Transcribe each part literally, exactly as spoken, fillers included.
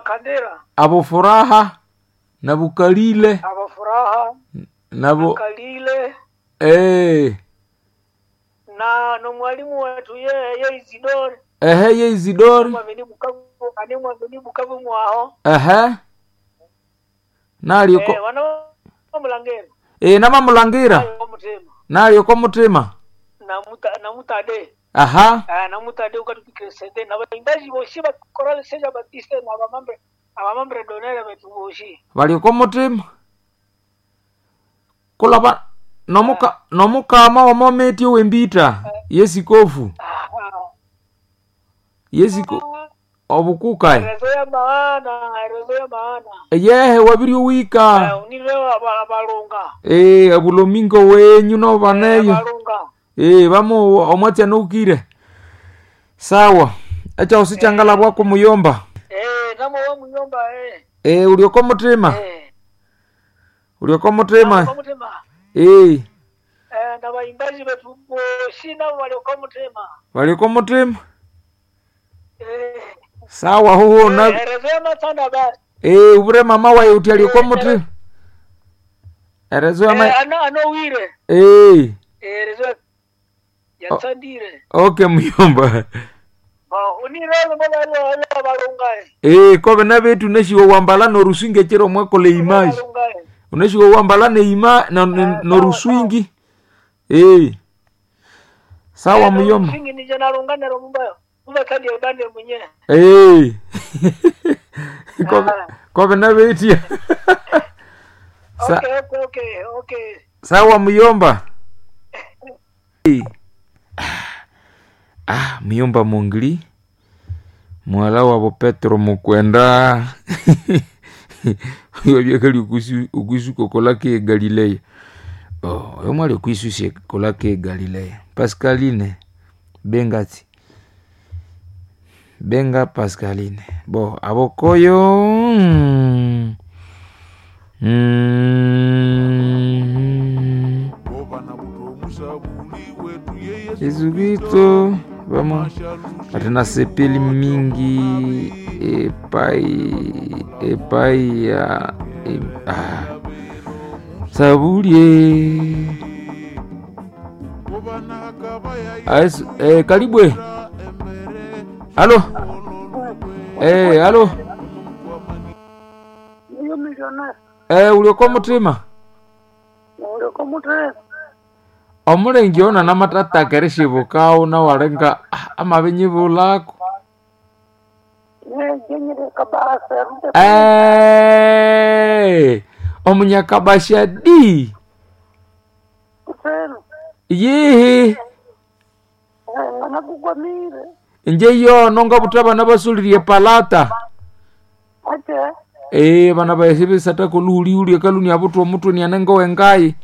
Makandira Abo Furaha na Bukalile abo Furaha nabo Kalile eh na nomwalimu wetu ye ye Isidore ehe ye Isidore mwamini Bukavu ani mwamini Bukavu mwaho ehe nalio ko eh wana mulangera eh namamulangira mutima nalio ko mutima na muta na mutade aha ah na mutade ukatukesede na baimbaji boshi ba chorale Seja Batiste na abamambre abamambre donere betu boshi balioko mutima kulaba nomuka nomukama womometi owembita yesikofu ah yesiko obukukae rezo ya maana rezo ya maana yehe wabiri owika eh unirewa abalunga eh abulomingo wenyu novaneyo abalunga eh vamo omwatsi anoukire sawa echaosi changalabwako muyomba eh namo wa muyomba eh eh ulioko mutima eh ulioko mutima kwa mutima eh eh na baimbaji betu boshi nabo waliokuwa mutima walioko mutima eh sawa huhu na eh, rezo ya matanda basi Eh, ubure mama waye uti aliokuwa muti erezo yama eh ano anowire eh eh rezo ya- yatsandire okay muyomba ba unirele mbona ile ile balunga eh kobe na betu neshiwo wambala norusinge chero mwakole image balunga uneshiwo wambala neima na sawa, noruswingi eh sawa muyomba singi nije nalunga nero mumba mumba kandi bande mwenye eh kobe Ah. kobe na betu Sa- okay okay okay okay sawa muyomba Eh. ah muyomba mungli mwala wabo petro mukwenda wabyakali okuisuka kolaka e galileya oh, oyo mwali okuisusia kolaka e galileya pascaline bengati benga pascaline bo abokoyo mm, mm, Bobana butomusabuli wetu ye Yesu Yesu Kristo vamo atena sepeli mingi epai epai ya e, ah. sabulie Bobana kabaya Aes, eh, karibwe embere halo eh, halo niyo millionaire eh, ulioko mutima ulioko mutima omulengi ona namatataka shibukawo nawalenga ah, amabenyi bulako jenyere kabasa rute Eh, omunyakabasha di kutero yihi ngana kugwamire nje yono nga buta bana basulirie palata ate eh bana baesebesata koluhulihulie kaluni abutwa omutwe nianenga wengai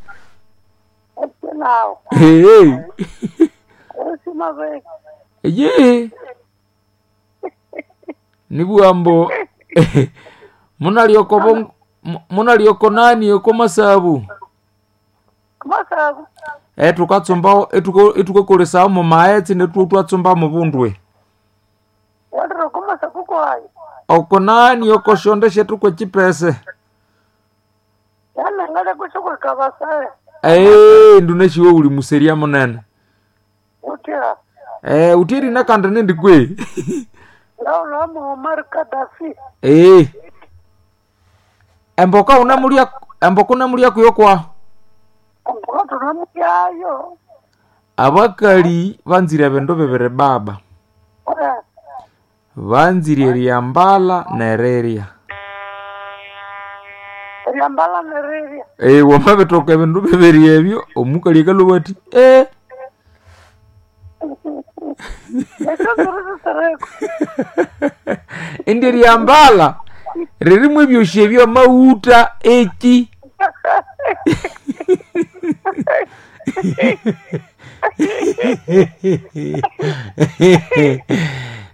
ate nawo hey. usima veke ye nibwambo munalioko bong- mu- munalioko nani oko masabu masabu etukatsumba etukakolesao mumaetsi netu twatsumba mubundwe waliro kumasabu kwayo oko nani oko shonde shetu kwechipese yana ngale kushukwe kabasa ee nduneshiwe uli museria munene utya ee utiri nakandi nindikwe laula Muammar Gaddafi ee emboka unamulia emboka unamulia kuyo kwa mboka tunamuyayo abakali banzire bindu bibiri baba Eh, banzire eryambala nerirya lyambala nerirya ee wamabitoka ebindu bibiri ebyo omukali akalubwa ati ee ekyo zirisisereko indi eryambala ririmu ebyosi ebyo amawuta eki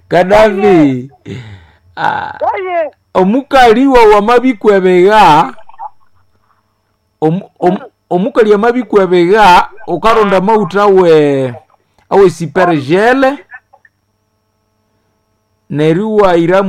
kadafi ah, aye omukali wawu amabikwebegha omu- omu- omukali amabikwebegha ukaronda amawutha awe awe sipergele neryo iwayira